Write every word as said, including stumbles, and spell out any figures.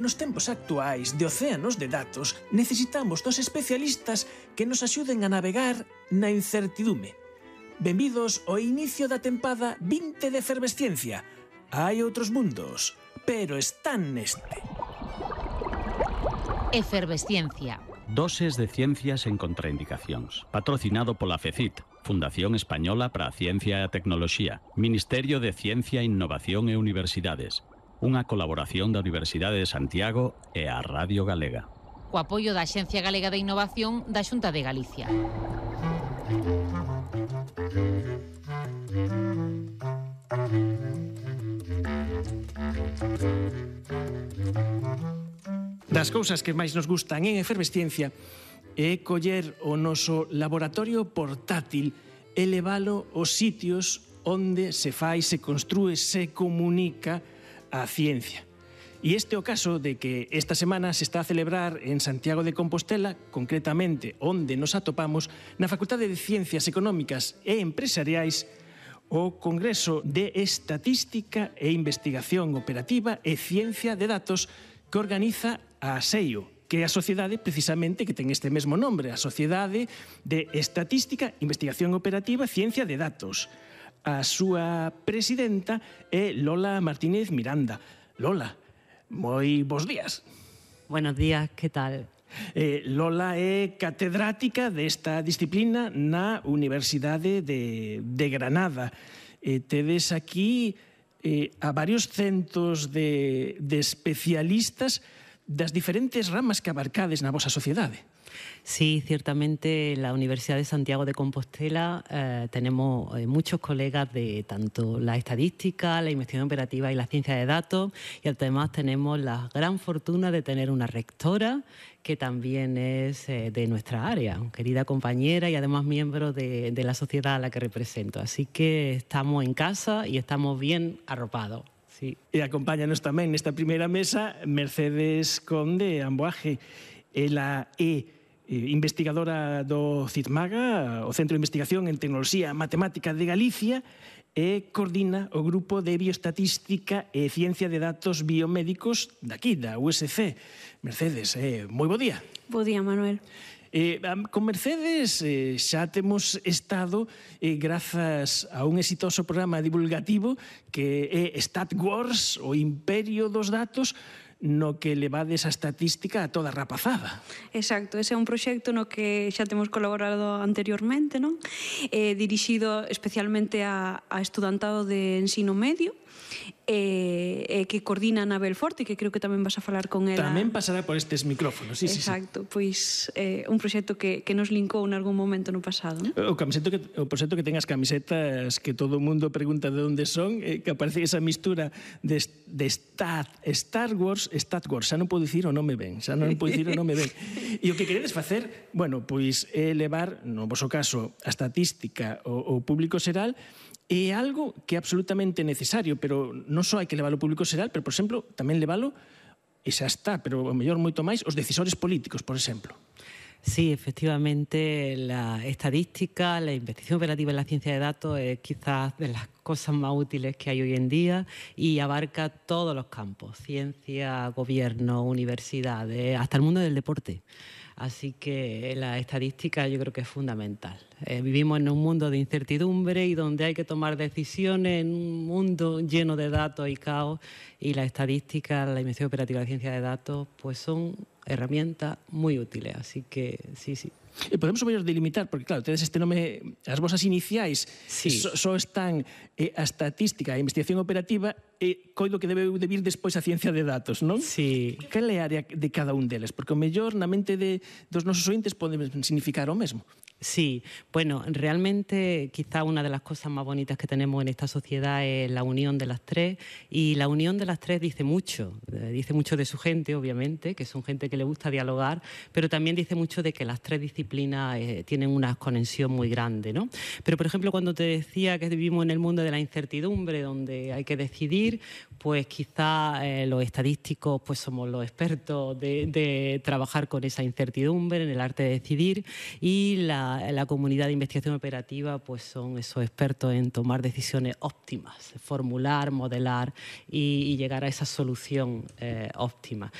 Nos tempos actuais de océanos de datos, necesitamos dos especialistas que nos axuden a navegar na incertidume. Benvidos ao inicio da tempada vinte de Efervesciencia. Hai outros mundos, pero están neste. Efervesciencia. Doses de ciencias en contraindicacións. Patrocinado pola FECIT, Fundación Española para a Ciencia e a Tecnoloxía, Ministerio de Ciencia, Innovación e Universidades. Unha colaboración da Universidade de Santiago e a Radio Galega. Co apoio da Axencia Galega de Innovación da Xunta de Galicia. Das cousas que máis nos gustan en Efervesciencia é coller o noso laboratorio portátil e levalo aos sitios onde se fai, se construe, se comunica a ciencia. E este é o caso de que esta semana se está a celebrar en Santiago de Compostela, concretamente onde nos atopamos, na Facultade de Ciencias Económicas e Empresariais, o Congreso de Estatística e Investigación Operativa e Ciencia de Datos que organiza a SEIO, que é a sociedade precisamente que ten este mesmo nombre, a Sociedade de Estatística, Investigación Operativa e Ciencia de Datos. A súa presidenta é Lola Martínez Miranda. Lola, moi bons días. Buenos días, que tal? Eh, Lola é catedrática desta disciplina na Universidade de, de Granada. Eh, tedes aquí eh, a varios centos de, de especialistas das diferentes ramas que abarcades na vosa sociedade. Sí, ciertamente en la Universidad de Santiago de Compostela eh, tenemos eh, muchos colegas de tanto la estadística, la investigación operativa y la ciencia de datos, y además tenemos la gran fortuna de tener una rectora que también es eh, de nuestra área, querida compañera y además miembro de, de la sociedad a la que represento. Así que estamos en casa y estamos bien arropados. Sí. E acompáñanos tamén nesta primeira mesa Mercedes Conde Amboaje. Ela é investigadora do CITMAGA, o Centro de Investigación en Tecnoloxía Matemática de Galicia, e coordina o Grupo de Bioestatística e Ciencia de Datos Biomédicos daqui, da U S C. Mercedes, eh, moi bo día. Bo día, Manuel. Eh, con Mercedes eh, xa temos estado eh, grazas a un exitoso programa divulgativo que é StatWars, o imperio dos datos, no que levades a estatística a toda rapazada. Exacto, ese é un proxecto no que xa temos colaborado anteriormente, non? Eh, dirixido especialmente a, a estudantado de ensino medio, e eh, eh, que coordina Anabel Forte, que creo que tamén vas a falar con ela. Tamén pasará por estes micrófonos, sí, Exacto, sí, sí. Pois eh, un proxecto que, que nos linkou en algún momento no pasado, non? O, camiseto que, o proxecto que ten as camisetas que todo o mundo pregunta de onde son, eh, que aparece esa mistura de, de Stat, Star Wars, Stat Wars, xa non podo dicir o nome ben, xa non podo dicir o nome ben. E o que queredes facer, bueno, pois é levar, no vosso caso, a estatística ao público xeral. É algo que é absolutamente necesario, pero non só hai que leválo ao público xeral, pero, por exemplo, tamén leválo, e xa está, pero o mellor moito máis, os decisores políticos, por exemplo. Sí, efectivamente, la estadística, la investigación operativa en la ciencia de datos es quizás de las cosas más útiles que hay hoy en día y abarca todos los campos, ciencia, gobierno, universidades, hasta el mundo del deporte. Así que la estadística yo creo que es fundamental. Eh, vivimos en un mundo de incertidumbre y donde hay que tomar decisiones en un mundo lleno de datos y caos, y la estadística, la investigación operativa de ciencia de datos, pues son herramientas muy útiles. Así que sí, sí. E podemos o mellor delimitar, porque claro, tedes este nome, as vosas iniciais sí. só so están eh, a estatística, a investigación operativa, e coido que debe de vir despois a ciencia de datos, non? Sí. Cal é a área de cada un deles? Porque o mellor na mente de, dos nosos ointes pode significar o mesmo. Sí, bueno, realmente quizá una de las cosas más bonitas que tenemos en esta sociedad es la unión de las tres, y la unión de las tres dice mucho, dice mucho de su gente, obviamente, que son gente que le gusta dialogar, pero también dice mucho de que las tres disciplinas disciplinas eh, tienen una conexión muy grande, ¿no? Pero, por ejemplo, cuando te decía que vivimos en el mundo de la incertidumbre, donde hay que decidir, pues quizá eh, los estadísticos pues somos los expertos de, de trabajar con esa incertidumbre, en el arte de decidir, y la, la comunidad de investigación operativa pues son esos expertos en tomar decisiones óptimas, formular, modelar y, y llegar a esa solución eh, óptima.